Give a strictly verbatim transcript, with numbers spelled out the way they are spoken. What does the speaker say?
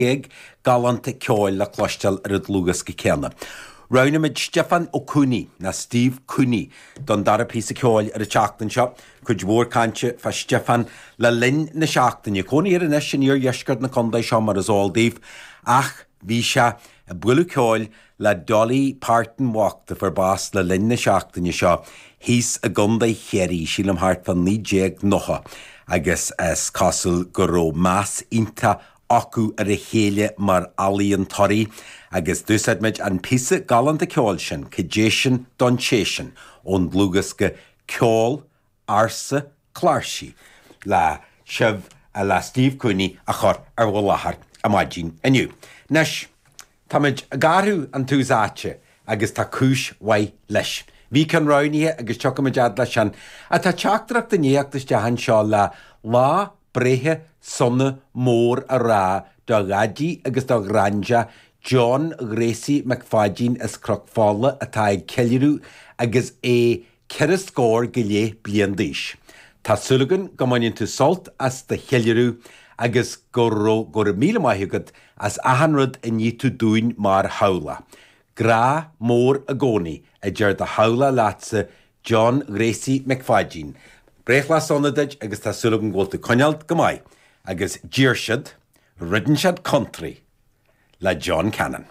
Gig galánta ceoil le cloisteáil ar an dlúthdhiosca céanna. Roghnaímid Stiofán Ó Cooney, nó Steve Cooney, don dara píosa ceoil ar an tseachtain seo. Cuid mhór cainte fá Stiofán le linn na seachtaine. Cónaí air anois in iardheisceart na contae seo mar is eol daoibh, ach bhí sé ag bualadh ceoil le Dolly Parton bhocht a fuair bás le linn na seachtaine seo thíos i gContae Chiarraí, sílim thart fá naoi déag nócha, agus is cosúil go raibh meas iontach acu ar a chéile mar ealaíontóirí agus d'úsáid muid an píosa galánta ceoil sin, Cad é sin don té sin, ón dlúthdhiosca Ceol Ársa Cláirsí le sibh, le Steve Cooney a chur ar bhur láthair ar maidin inniu. Anois, táimid ag athrú an tús áite agus tá cúis mhaith leis. Bhí ceann roghnaithe agus tiocfaimid fhad leis sin. Ach tá teachtaireacht i ndiaidh theacht isteach anseo le lá breithe sona mór a rá do Dhaidí agus do Ghraindea John Ghracie Mac Pháidín as Cnoc Fola atá ag ceiliúradh agus é ceithre scór go leith bliain d'aois. Tá súil againn go mbaineann tú sult as do cheiliúradh agus go raibh go raibh míle maith agat as achan rud a ní tú dúinn mar theaghlach. Grá mór i gcónaí, a deir do theaghlach leatsa, John Ghracie Mac Pháidín. Breithlá sona duit agus tá súil agam go bhfuil tú ag coinneáil go maith agus d'iarr siad, Ridin' Shed Country le John Cannon.